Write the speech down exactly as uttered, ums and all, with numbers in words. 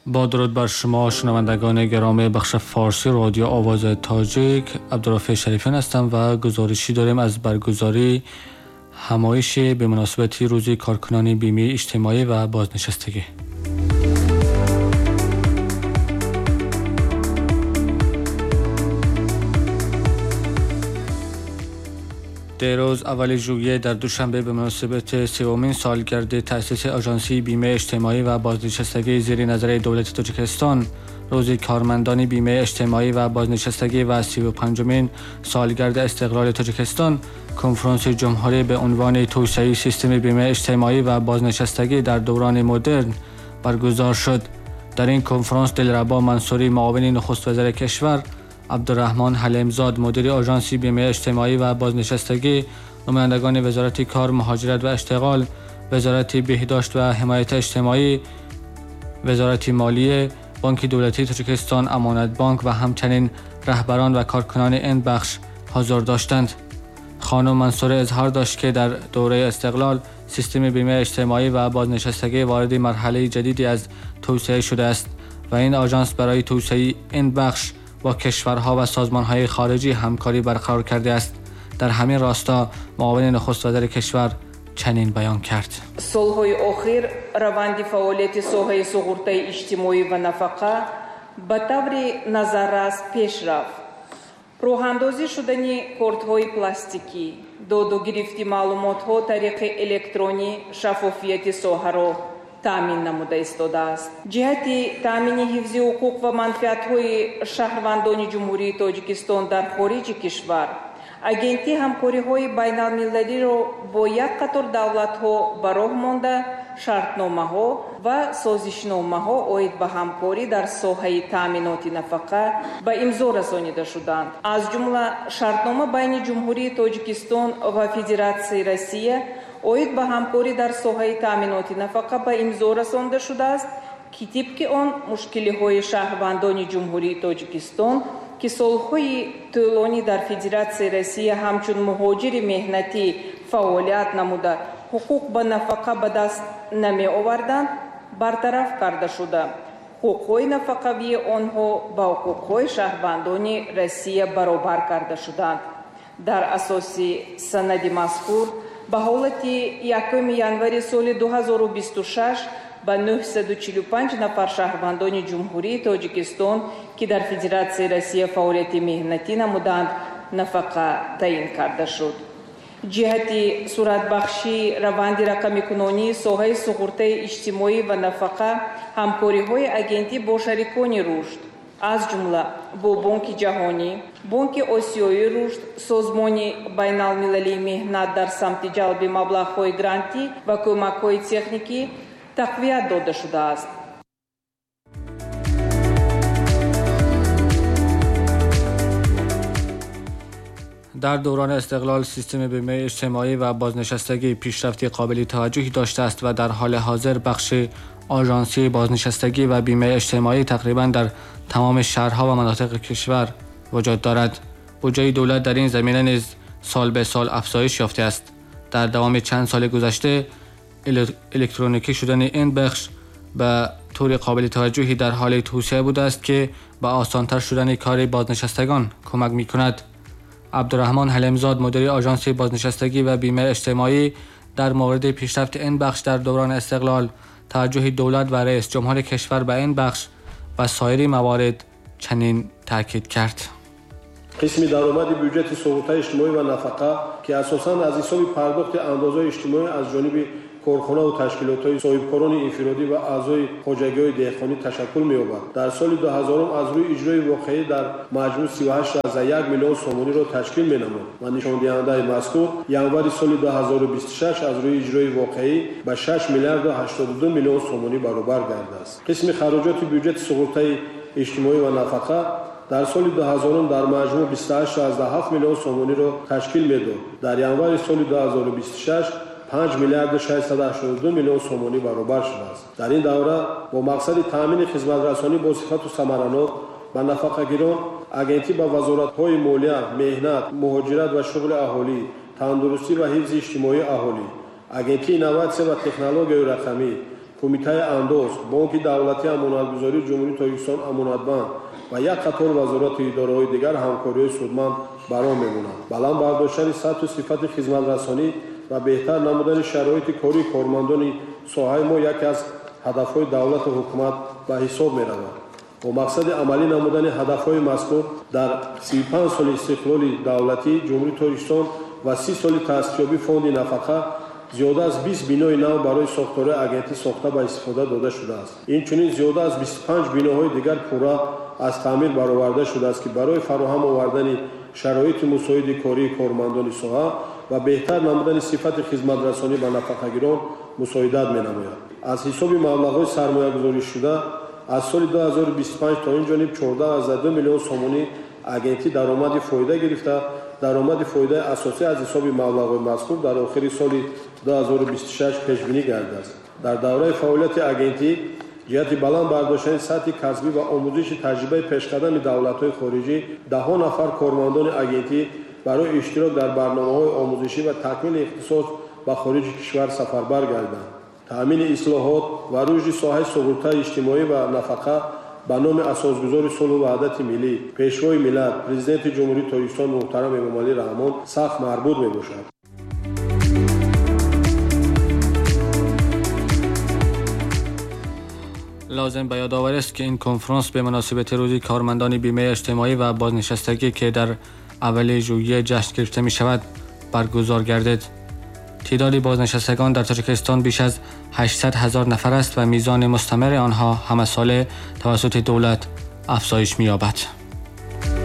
با درود بر شما شنوندگان گرامی بخش فارسی رادیو آواز تاجیک، عبدالرافع شریفیان هستم و گزارشی داریم از برگزاری همایش به مناسبت روز کارکنان بیمه اجتماعی و بازنشستگی. دیروز اول ژوئیه در دوشنبه به مناسبت سومین سالگرد تأسیس آژانس بیمه اجتماعی و بازنشستگی زیر نظر دولت تاجیکستان، روز کارمندان بیمه اجتماعی و بازنشستگی و سی و پنجمین سالگرد استقلال تاجیکستان، کنفرانس جمهوری به عنوان توسعه سیستم بیمه اجتماعی و بازنشستگی در دوران مدرن برگزار شد. در این کنفرانس دلربا منصوری معاون نخست وزیر کشور، عبدالرحمن حلیمزاد مدیر آژانس بیمه اجتماعی و بازنشستگی، نمایندگان وزارت کار، مهاجرت و اشتغال، وزارت بهداشت و حمایت اجتماعی، وزارت مالیه، بانک دولتی تاجیکستان، امانت بانک و همچنین رهبران و کارکنان این بخش حضور داشتند. خانم منصور اظهار داشت که در دوره استقلال سیستم بیمه اجتماعی و بازنشستگی وارد مرحله جدیدی از توسعه شده است و این آژانس برای توسعه این بخش با کشورها و سازمان‌های خارجی همکاری برقرار کرده است. در همین راستا معاون نخست وزیر کشور چنین بیان کرد: солҳои охир раванди фаъолияти соҳаи суғуртаи иҷтимоӣ ва нафақа ба таври назаррас пеш рафт. Роҳандозӣ шудани кортҳои пластикӣ, доду гирифти маълумотҳо тариқи электронӣ шаффофияти соҳаро таъмин намуда истодааст. Ҷиҳати таъмини ҳифзи ҳуқуқ ва манфиатҳои шаҳрвандони Ҷумҳурии Тоҷикистон дар хориҷи кишвар, агентӣ ҳамкориҳои байналмилалиро бо як қатор давлатҳо ба роҳ монда, шартномаҳо ва созишномаҳо оид ба ҳамкорӣ дар соҳаи таъминоти нафақа ба имзо расонида шуданд. Аз ҷумла шартнома байни Ҷумҳурии Тоҷикистон ва Федератсияи Россия оид ба ҳамкорӣ дар соҳаи таъминоти нафақа ба имзо расонда шудааст, ки тибқи он мушкилиҳои шаҳрвандони Ҷумҳурии Тоҷикистон, ки солҳои тӯлонӣ дар Федератсияи Россия ҳамчун муҳоҷири меҳнатӣ фаъолият намуда, ҳуқуқ ба нафақа ба даст намеоварданд, бартараф карда шуда, ҳуқуқҳои нафақавии онҳо ба ҳуқуқҳои шаҳрвандони Россия баробар карда шуданд. Дар асоси санади мазкур ба ҳолати якуми январи соли ду ҳазору бисту шаш ба нӯҳсаду чилу панҷ нафар шаҳрвандони Ҷумҳурии Тоҷикистон, ки дар Федератсияи Россия фаъолияти меҳнатӣ намуданд, нафақа таъин карда шуд. Ҷиҳати суратбахшии раванди рақамикунонии соҳаи суғуртаи иҷтимоӣ ва нафақа, ҳамкориҳои агентӣ бо шарикони рушд, аз ҷумла бо Бонки Ҷаҳонӣ, Бонки Осиёии рушд, Созмони байналмилалии меҳнат дар самти ҷалби маблағҳои грантӣ ва кӯмакҳои техникӣ тақвият дода шудааст. در دوران استقلال سیستم بیمه اجتماعی و بازنشستگی پیشرفت قابل توجهی داشته است و در حال حاضر بخش آژانسی بازنشستگی و بیمه اجتماعی تقریباً در تمام شهرها و مناطق کشور وجود دارد. بودجه دولت در این زمینه نیز سال به سال افزایش یافته است. در دوام چند سال گذشته الکترونیکی شدن این بخش به طور قابل توجهی در حال توسعه بوده است که به آسانتر شدن کار بازنشستگان کمک می‌کند. عبدالرحمن حلیمزاد مدیر آژانس بازنشستگی و بیمه اجتماعی در مورد پیشرفت این بخش در دوران استقلال، توجه دولت و رئیس جمهور کشور به این بخش و سایر موارد چنین تاکید کرد: قسمی درآمد بودجه суғуртаи иҷтимоӣ ва нафақа, ки асосан аз ҳисоби пардохти андозҳои иҷтимоӣ аз ҷониби корхона ва ташкилотҳои соҳибкорони инфиродӣ ва аъзои хоҷагиҳои деҳқонӣ ташаккул меёбад, дар соли ду ҳазорум аз рӯи иҷрои воқеӣ дар маҷмӯъ си ва ҳашт аз як миллион сомониро ташкил менамуд ва нишондиҳандаи мазкур январи соли ду ҳазору бисту шаш аз рӯи иҷрои воқеӣ ба шаш миллиарду ҳаштоду ду миллион сомонӣ баробар гардааст. Қисми хароҷоти бюҷети суғуртаи иҷтимоӣ ва нафақа дар соли ду ҳазорум дар маҷмӯъ бисту ҳашт аз ҳафт миллион сомониро ташкил медод. Дар январи соли ду ҳазору бисту шаш панҷ миллиарду шашсаду ҳаштоду ду миллион сомонӣ баробар шудааст. Дар ин давра бо мақсади таъмини хизматрасонӣ бо сифату самаранок ба нафақагирон, агентӣ ба вазоратҳои молия, меҳнат, муҳоҷират ва шуғли аҳолӣ, тандурустӣ ва ҳифзи иҷтимоии аҳолӣ, агентии инноватсия ва технологияи рақамӣ, Кумитаи андоз, Бонки давлатии амонатгузории Ҷумҳурии Тоҷикистон Амонатбанк ва як қатор вазорату идораҳои дигар ҳамкориҳои судманд ба роҳ мемонанд. Баланд бардоштани сатҳу сифати хизматрасонӣ ва беҳтар намудани шароити кории кормандони соҳаи мо яке аз ҳадафҳои давлату ҳукумат ба ҳисоб меравад. Бо мақсади амалӣ намудани ҳадафҳои мазкур дар сию панҷ соли истиқлоли давлатии Ҷумҳурии Тоҷикистон ва си соли таъсисёбии фонди нафақа зиёда аз бист бинои нав барои сохторҳои агентӣ сохта ба истифода дода шудааст. Инчунин зиёда аз бисту панҷ биноҳои дигар пурра аз таъмир бароварда шудааст, ки барои фароҳам овардани шароити мусоиди кории кормандони соҳа ва беҳтар намудани сифати хизматрасонӣ ба нафақагирон мусоидат менамояд. Аз ҳисоби маблағҳои сармоягузоришуда аз соли ду ҳазору бисту панҷ то ин ҷониб чордаҳ аз ду миллион сомонӣ агентӣ даромади фоида гирифта, даромади фоидаи асосӣ аз ҳисоби маблағҳои мазкур дар охири соли ду ҳазору бисту шаш пешбинӣ гардидааст. Дар давраи фаъолияти агентӣ ҷиҳати баланд бардоштани сатҳи касбӣ ва омӯзиши таҷрибаи пешқадами давлатҳои хориҷӣ даҳҳо нафар кормандони агентӣ барои иштирок дар барномаҳои омӯзишӣ ва такмили ихтисос ба хориҷи кишвар сафарбар гардиданд. Таъмини ислоҳот ва рушди соҳаи суғуртаи иҷтимоӣ ва нафақа ба номи асосгузори сулҳу ваҳдати миллӣ, Пешвои миллат, Президенти Ҷумҳурии Тоҷикистон муҳтарам Эмомалӣ Раҳмон сахт марбут мебошад. لازم به یادآوری است که این کنفرانس به مناسبت روز کارمندان بیمه اجتماعی و بازنشستگی که در اول ژوئیه جشن گرفته می شود برگزار گردید. تعداد بازنشستگان در تاجیکستان بیش از هشتصد هزار نفر است و میزان مستمر آنها همه ساله توسط دولت افزایش می‌یابد.